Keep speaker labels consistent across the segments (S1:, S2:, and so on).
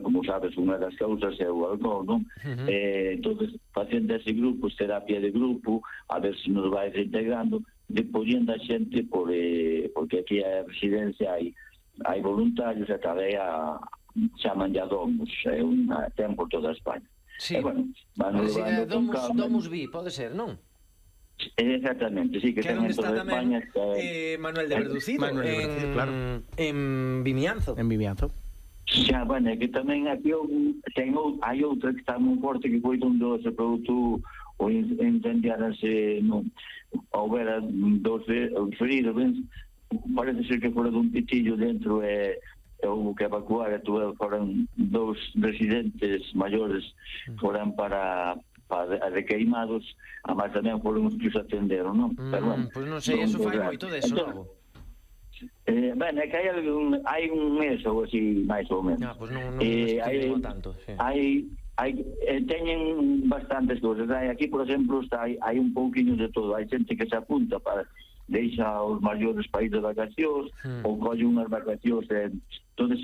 S1: como sabes, unha das causas é o alcohol, non? Entonces, facendo ese grupo, terapia de grupo, a ver se nos vai reintegrando, depollendo a xente porque aquí a residencia hai voluntarios e tamén chaman ya domos, ten por toda España.
S2: Sí,
S1: Domus
S2: Vi, pode ser, non?
S1: Exactamente, sí, que ten en toda España.
S2: Manuel de Verducido, claro. En Vimianzo.
S1: Xa, bueno, é que tamén aquí hai outra que está moi forte, que foi onde se produto o incendiarase ao ver dos feridos, parece ser que fora dun pitillo dentro houve que evacuar, foran 2 residentes maiores, foran para requeimados, a máis tamén foron os que os atenderon, non?
S2: Pois non sei, eso fai moito deso, non?
S1: É que hai un mes ou así, máis ou menos.
S2: Pois non estive tanto.
S1: Teñen bastantes cousas. Aquí, por exemplo, hai un pouquinho de todo. Hai xente que se apunta para deixa os maiores países de vacacións ou colle unhas vacacións. Entonces,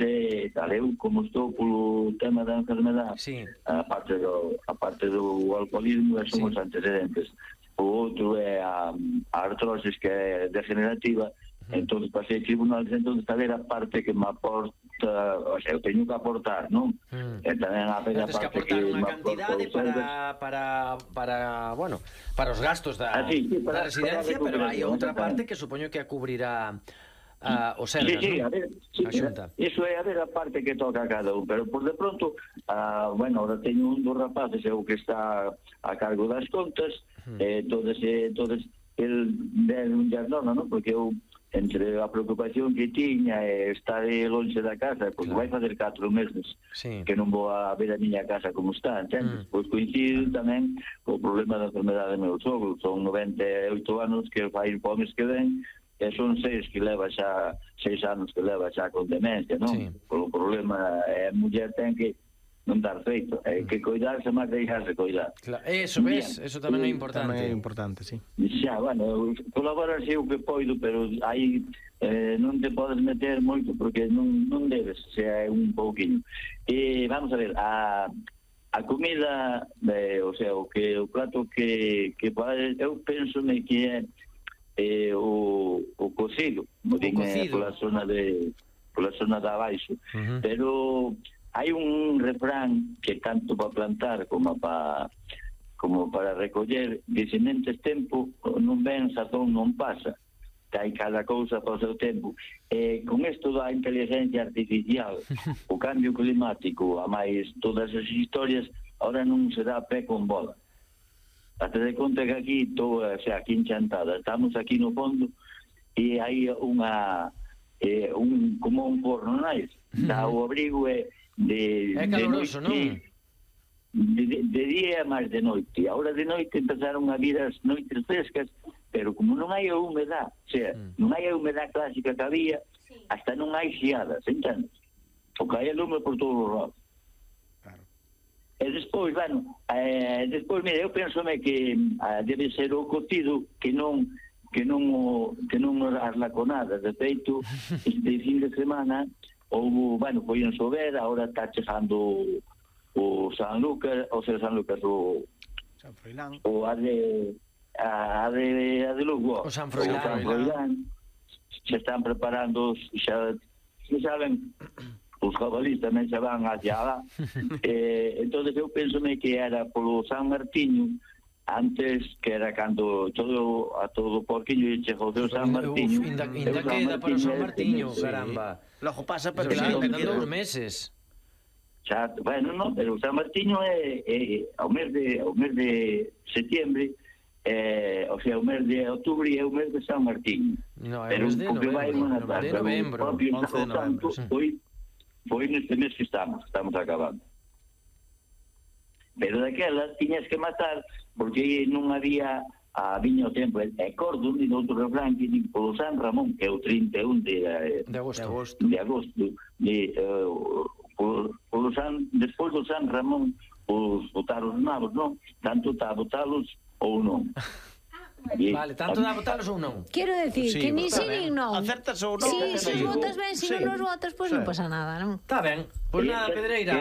S1: eu, como estou polo tema da enfermedade, aparte do alcoholismo, son os antecedentes. O outro é a artrosis, que é degenerativa. Entón, pasei tribunales, entón, tal era a parte que me aporta, o sea, eu teño que aportar, non? E tamén a parte
S2: que aportar unha cantidade para os gastos da residencia, pero hai outra parte que supoño que a cubrirá o Sergas,
S1: a Xunta. Iso é a ver a parte que toca a cada un, pero por de pronto, ahora teño un dos rapaces, é o que está a cargo das contas, entonces el un jardona, non? Porque eu, entre a preocupación que tiña e estar longe da casa, porque vai fazer 4 meses que non vou a ver a miña casa como está, entendes? Pois coincido tamén co problema da enfermedade do meu sogro. Son 98 anos que vai po mes que ven, e son 6 anos que leva xa con demencia, non? Polo problema, a muller ten que non dar feito, que coidarse máis deixarse coidar.
S2: Eso tamén é importante.
S3: Tamén é importante, sí.
S1: Xa, colaborar sei o que poido, pero aí non te podes meter moito porque non debes, xa é un pouquinho. Vamos a ver, a comida, o prato que eu pensome que é o cocido, pola zona de abaixo, pero hai un refrán que tanto para plantar como para recoller, que se mentes tempo non ven, sazón non pasa, que hai cada cousa para o seu tempo. Con isto da inteligencia artificial, o cambio climático, a máis todas as historias, ahora non se dá pé con bola. Hasta de conta que aquí estou aquí enchantada, estamos aquí no fondo e hai como un forno, non hai? O abrigo é
S2: caloroso, non?
S1: De día e máis de noite. Ahora de noite empezaron a vir as noites frescas, pero como non hai a humedade, non hai a humedade clásica que había, hasta non hai xiadas, entendes? Porque hai lume por todos os lados. E despois, mira, eu pensome que debe ser o cocido que non as laconadas. De feito, este fin de semana foi en Sober, agora está chegando o San Lucas, o San Froilán, o a de Lugo,
S2: o San Froilán,
S1: se están preparando, xa saben, os jabalís tamén se van hacia lá. Entón eu pensome que era polo San Martiño, antes que era cando a todo o porquillo e chegou o San Martiño.
S2: Ainda queda para o San Martiño, caramba. Logo pasa para que quedan 2 meses.
S1: Xa, non, pero o San Martiño é ao mes de setembro, o sea, o mes de outubro é o mes de San Martiño.
S2: Pero o mes de novembro.
S1: O propio Santo foi neste mes que estamos acabando. Pero daquelas tiñas que matar porque non había viña o tempo. Acordo de outro refrán que digo polo San Ramón, que é o 31 de agosto, despois do San Ramón os botar os nabos, non? Tanto está a botalos ou non.
S2: Vale, tanto dá botalos ou non?
S4: Quero decir que ni si nin non.
S3: Acertas ou non?
S4: Si os botas ben, se non os botas, pois non pasa nada, non?
S2: Está ben. Pois nada, Pedreira.